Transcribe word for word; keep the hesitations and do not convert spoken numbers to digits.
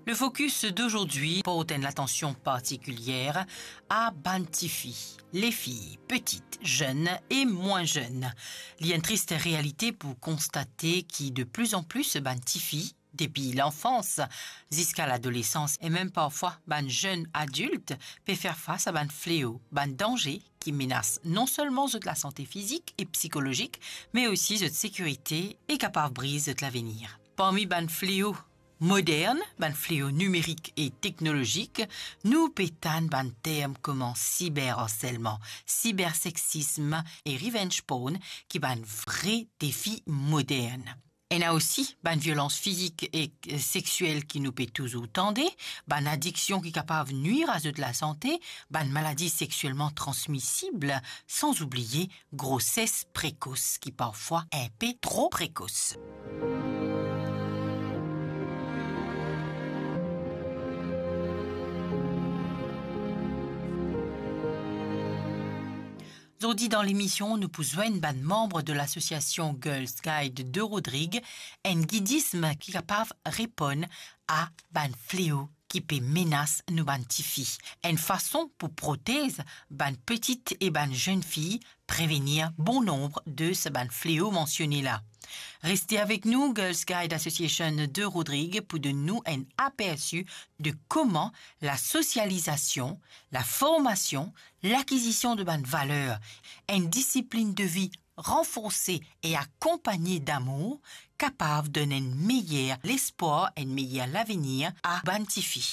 Le focus d'aujourd'hui porte une attention particulière à bann tifi, les filles, petites, jeunes et moins jeunes. Li enn trist realite pou konstate ki de plus en plus bann tifi, depi lanfans ziska ladolesans e mem parfwa bann zenn adilt, pe fer fas a bann fleo, bann danze ki menas non selman zot lasante fizik e psikolozik, me osi zot sekirite e kapav briz zot lavenir. Parmi bann fleo modern, bann fleo nimerik e teknolozik, nou pe tann bann term kouma siberharselman, siberseksism e revenge porn ki bann vre defi modern. Ena osi bann violans fizik e, eh, sexiel ki nou pe touzour tande, bann adiksion ki kapav nwir a zot lasante, bann maladi sexielman transmisib, san oubliye groses prekos ki parfwa inpe tro prekos. Zordi dan lemision, nou pou zwenn bann manm de lasosiasion Girls Guide de Rodrig, enn gidism ki kapav reponn a bann fleo ki pe menas nou bann tifi, enn fason pou protez bann petit e bann zenn fi, prevenir bon nonb de sa bann fleo mansione la. Reste avek nou, Girls Guide Association de Rodrig pou donn nou enn apersi de kouma lasosializasion, laformasion, lakizision de bann valer, enn disiplinn de vi ranforse e akonpagne damour kapav donn enn meyer lespwar, enn meyer lavenir a bann tifi.